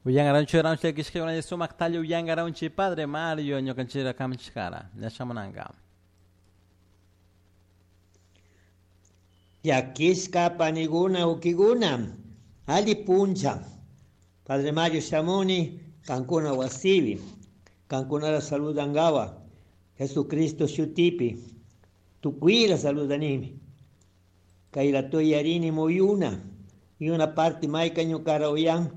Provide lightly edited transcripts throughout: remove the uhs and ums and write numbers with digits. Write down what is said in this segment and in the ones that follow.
Uyangaranchi ranchi kishkay sumak tali uyangaranchi Padre Mario ñukanchira kamchikara ñashamunanga. Yakishka paniguna ukiguna ali puncha. Padre Mario shamuni kankuna wasibi kankunara saludangawa Jesucristo shutipi tukuila saludanimi. Kayla toyarini muyuna y una parte mayka ñukara uyan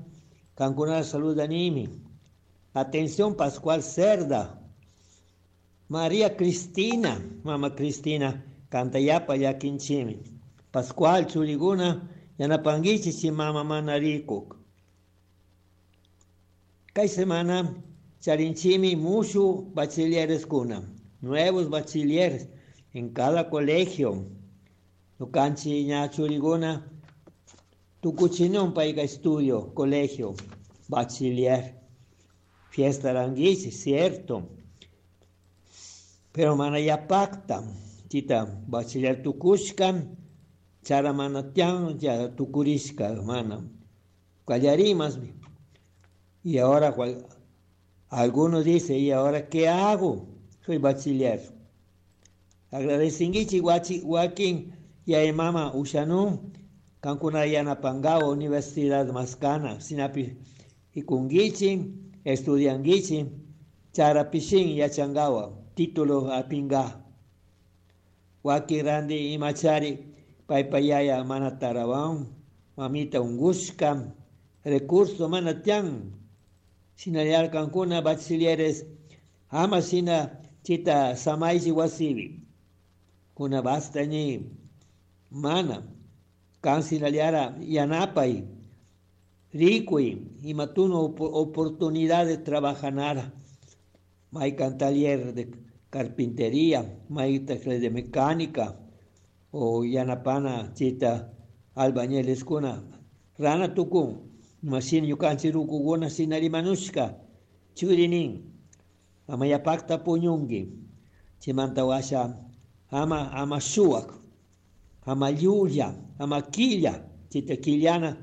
kankunara saludanimi. Atención Pascual Cerda, María Cristina, Mama Cristina, kantayapa llakinchimi. Pascual churiguna yanapanguichi chi mama mana rikuk. Kay semana charinchimi mushu bachilleres kuna, nuevos bachilleres en cada colegio. Ñukanchi ña churiguna tukuchinun payka estudio, colegio, bachiller. Fiesta ranguichi, cierto. Pero mana ya pacta, chita bachiller tukushka, chara mana tian, ya tukurishka, mana. Callarimas. Y ahora algunos dicen, ¿y ahora qué hago? Soy bachiller. Agradecinguichi guachi wakin y mama ushanu kankuna yanapangao Universidad Mascana sinapi ikunguichi estudianguichi charapishin yachangawa título apinga. Waki randi imachari paypayaya mana tarawan mamita ungushka recurso mana tian sinayar kankuna bachilleres ama sina chita samaichi wasibi kuna basta ni mana kan sinaliara yanapay rikuy imatuno oportunidad de trabajar maykan taller de carpintería may taller de mecánica o yanapana chita albañiles kuna rana tukun masin ñukanchik rukukuna sinarimanushka churinin ama yapakta puñunki chimanta washa ama ama shuwak ama llulla ama quilla chita quillana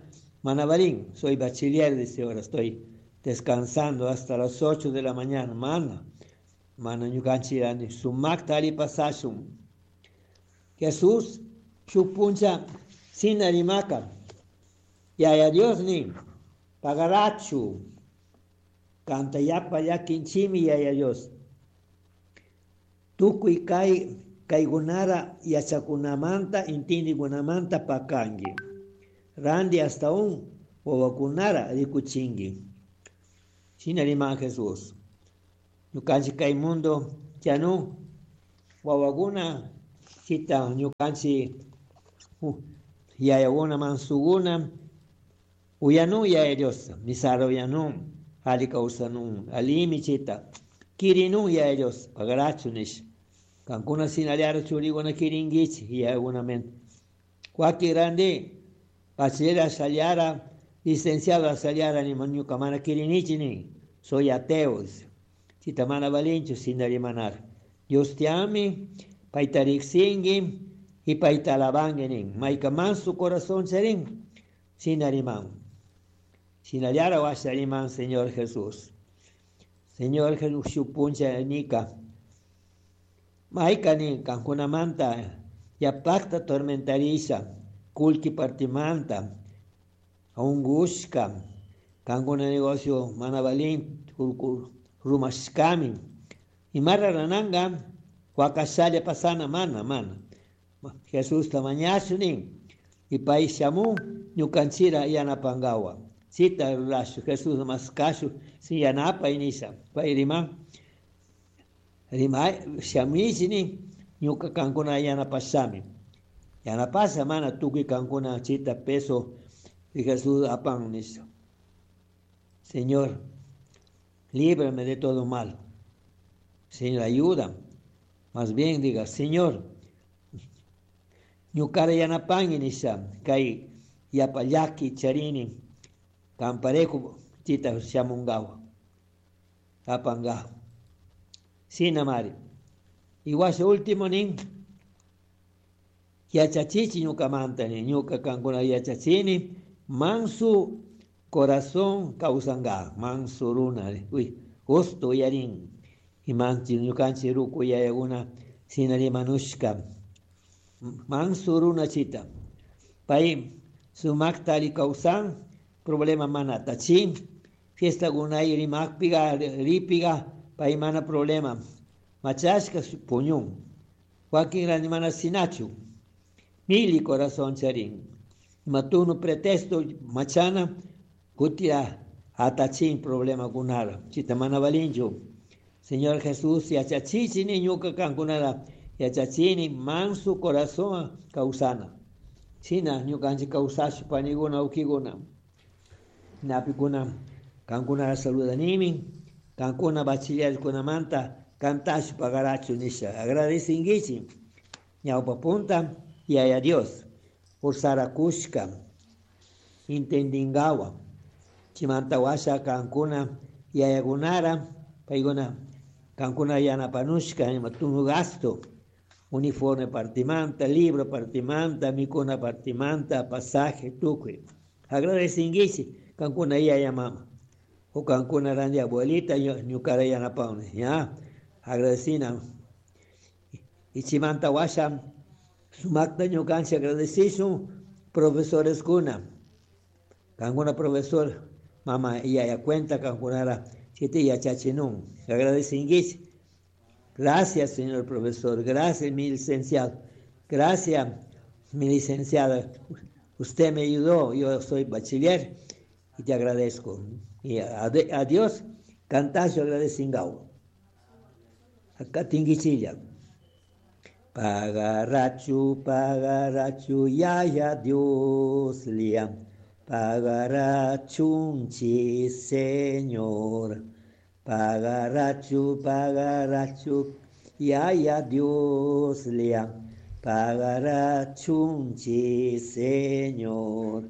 manabarín soy bachiller dice ahora estoy descansando hasta las 8 de la mañana mana mana ñukanchik sumakta ali pasashun. Jesús shuk puncha sinarimaka Yaya Dios nin pagarachu kanta yapa llakinchimi Yaya Dios. Tukuy kay kaykunara yachakunamanta intindikunamanta pakanki. Randi hasta un wawakunara rikuchinki. Shina riman Jesús. Ñukanchik kay mundo chanu wawakuna chita ñukanchik yayakuna mansukuna uyanu Yaya Dios misara uyanu ali kawsanun alimi chita kirinun Yaya Dios pagarachu nish kankuna sinaliara churikuna kirinkichik yayakunamanta wakin randi bachiller saliara licenciado saliara nima ñuka mana kirinichi nin soy ateo chita mana valinchu sinarimanara Dios te ame payta riksinki y payta alabanki nin mayka manso corazón charin sinariman sinallara washariman Señor Jesús. Señor Jesús shuk puncha nika mayka nin kankunamanta yapakta tormentarisha kullki partimanta ungushka kankuna negocio mana valin rumashkami imara rananga wakashalla pasana mana mana. Jesusta mañashu nin y pay shamun ñukanchira yanapangawa chita rurashu Jesús maskashu si yanapay nisha pay riman rimay shamichi nin ñuka kankuna yanapashami yanapasha mana tukuy kankuna chita peso y Jesús apan nisha. Señor, líbrame de todo mal. Señor, ayuda. Más bien diga, Señor, ñukara yanapanki nisha kay yapa llaki charini kamparejo chita shamungawa apanga sina mari. Iwasha último nin yachachichi ñukamanta nin ñuka kankuna yachachini mansu Corazón kawsanka manso runa uy gusto uyarin. Imanchi ñukanchik ruku yayakuna shina rimanushka manso runa chita. Pay sumakta alli kawsan problema mana atachin fiestakunay rimakpiga ripiga pay mana problema machashka puñun. Wakin randi mana shinachu mili corazón charin. Ima pretexto machana kutia atachin problema kunara chita mana valinchu. Señor Jesús yachachichini ñuka kankunara yachachini manso corazón kawsana. Shina ñukanchik kawsashpa panikuna ukikuna napikuna kankunara saludanimi kankuna bachillerkunamanta kantashpa pagarachu nisha agradecinkichik ñawpa punta Yaya Dios ursarakushka intendingawa chimanta washa kankuna yayakunara paykuna kankuna yanapanushka ima tunu gasto uniforme partimanta libro partimanta mikuna partimanta pasaje tukuy agradecinkichik kankuna yaya mama o kankuna randi abuelita ñukara yanapawni ya agradecina. Y chimanta washa sumakta ñukanchik agradecishun profesores kuna kankuna profesor mama yaya cuenta kankunara chita yachachinun agradecinkichik gracias señor profesor. Gracias mi licenciado. Gracias mi licenciada. Usted me ayudó. Yo soy bachiller y te agradezco. Y a Dios cantazo agradecingao acá tinguichilla Pagarachu, pagarachu, yaya Dios liam. Pagarachunchi, Señor. Pagarachu, pagarachu, yaya Dios liam. Pagarachunchi, Señor.